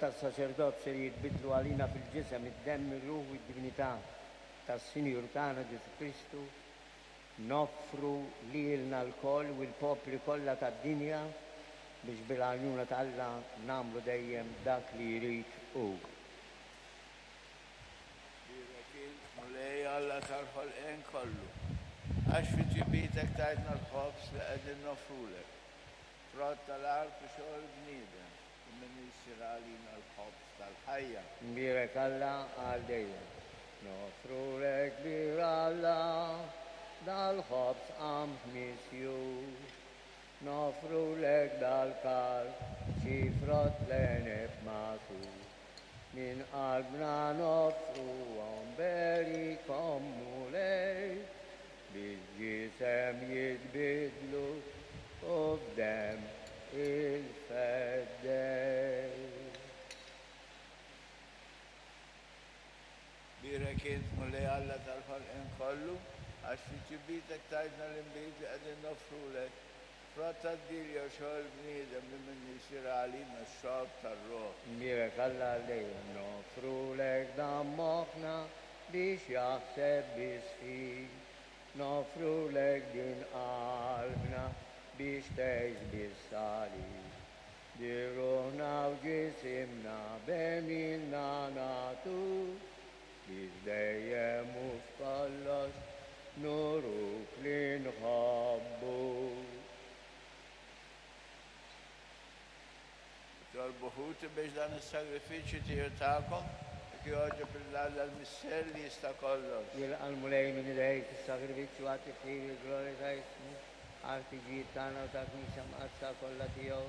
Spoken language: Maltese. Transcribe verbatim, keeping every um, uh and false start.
tas-saċerdozju li jitbiddlu għalina fil-ġisem, id-demm, ir-ruħ u d-divinità tas-Sinjur tagħna Ġesù Kristu, noffru lilna lkoll u l-popli kollha tad-dinja biex bil-għajnuna ta' Alla nagħmlu dejjem dak li jrid hu. Bierek int, Mulej Alla tal-ħolqien kollu, għax fi tjubitek tajtna l-ħobż li qegħdin noffrulek, frott tal-art u xogħol bniedem, u minnu jsir għalina l-ħobż tal-ħajja. Mbierek Alla għal dejjem. Noffrulek kbir Alla dal-ħobż qamħ misjur. Noffrulek dal-kalċi frott l-għeneb magħsur. Minn qalbna noffruhom berikhom Mulej, biex ġisem jitbidlu u f'demm il-Feddej. Bierek int, Mulej Alla tal-ħolqien kollu, għax fi tjubitek tajtna l-inbid li qegħdin noffrulek, frott tad-dielja u xogħol bniedem li minnu jsir għalina x-xorb tar-ruħ. Mbierek Alla għal dejjem. Noffrulek dan moħħna biex jaħseb biss fik. Noffrulek din qalbna biex tgħix biss għalik. Din ruħna u ġisimna b'għemilna nagħtu biex dejjem u f'kollox nuruk li nħobbu. Itolbu ħuti biex dan is-sagrifiċċju tiegħu tagħkom jekk jogħġob lil Alla l-Missier li jista' kollox. Jilqa' l-Mulej minn idejk is-sagrifiċċju għat-tifħir il-glorja ta' ismu, għall-ħtiġijiet tagħna u tal-Knisja Mqaddsa kollha tiegħu.